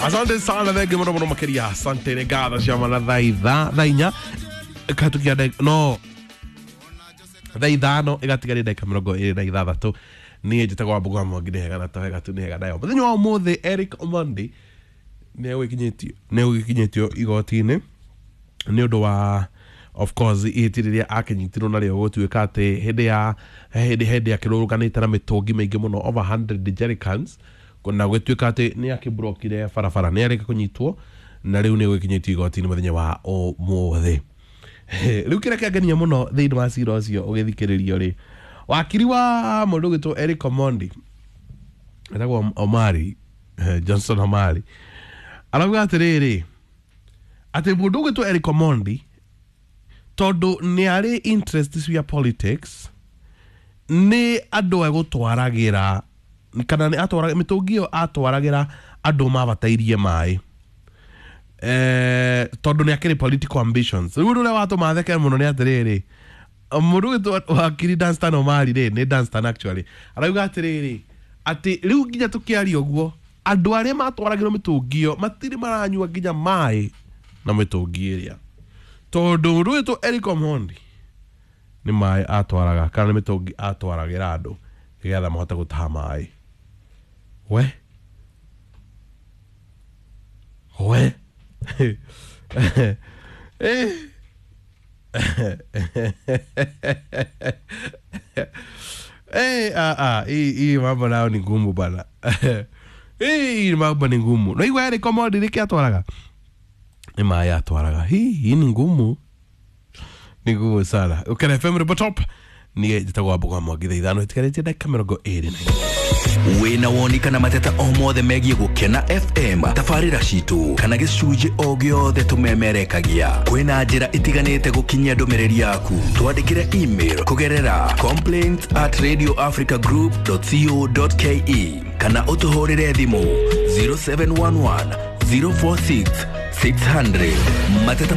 Asante sana, thengi muno muno makiria. Asante nĩ ngatho cia mana thaa itha thaa inya ĩkahĩtũkia no thaa 5 ĩgatigaria ndagĩka 26. Niĩ njĩtagwo Wambũgũ wa Mwangi, nĩ hega na to hega tu, nĩ hega nayo. Mũthenya wa ũmũthĩ Eric Omondi nĩ egũgĩkinyĩtio igoti-inĩ nĩ ũndũ wa, of course, ihĩtia rĩrĩa akĩnyitirwo narĩo gũtuĩka atĩ hĩndĩ ya hĩndĩ akĩrũrũnganĩte na mĩtũngi mĩingĩ mũno, over 100 jerrycans, na gũtuĩka atĩ nĩ akĩmburokire barabara. Nĩ arĩka kũnyitwo na rĩu nĩ egũgĩkinyĩtio igoti-inĩ mũthenya wa ũmũthĩ. Rĩu kĩrĩa kĩangenia mũno thĩinĩ wa cira ũcio ũgĩthikĩrĩrio rĩ, wakiri wa mũndũ ũgwĩtwo Eric Omondi etagwo Omari, Johnson Omari, arauga atĩrĩrĩ atĩ mũndũ ũgwĩtwo Eric Omondi tondũ nĩ arĩ interest cia politics nĩ andũ egũtwaragĩra kana nĩ atwaraga mĩtũngi ĩyo, atwaragĩra andũ mabatairie maĩ tondũ nĩ akĩrĩ political ambitions. Rĩu ũndũ ũrĩa watũma theke mũno nĩ atĩrĩrĩ, mũndũ ũgwĩtwo wakiri Danstan Omari rĩ, nĩ Danstan actually, arauga atĩrĩrĩ atĩ rĩu nginya tũkĩaria ũguo andũ arĩa matwaragĩrwo mĩtũngi ĩyo matirĩ maranyua nginya maĩ na mĩtũngi ĩrĩa, tondũ mũndũ ũgwĩtwo Eric Omondi nĩ maĩ atwaraga kana nĩ mĩtũngi atwaragĩra andũ nĩgetha mahote gũtaha maĩ. We we. Eh. Eh, ah, ah, hii mambo nayo ni ngumu bana. Hii mambo ni ngumu. No igua Eric Omondi nĩkĩ atwaraga? Nĩ maĩ atwaraga. Hii ni ngumu. Ni ngumu sana. Ukena FM Ribotop Top. Niĩ njĩtagwo Wambũgũ wa Mwangi, thaa 5 ĩtigarĩtie ndagĩka 24. Wĩna woni kana mateta o mothe megiĩ Gũkena FM, tabarĩra citũ kana gĩcunjĩ o gĩothe tũmemerekagia, kwĩna njĩra itiganĩte gũkinyia ndũmĩrĩri yaku. Twandĩkĩre email kũgerera complaints@radioafricagroup.co.ke kana ũtũhũrĩre thimũ 0711 046 600. Mateta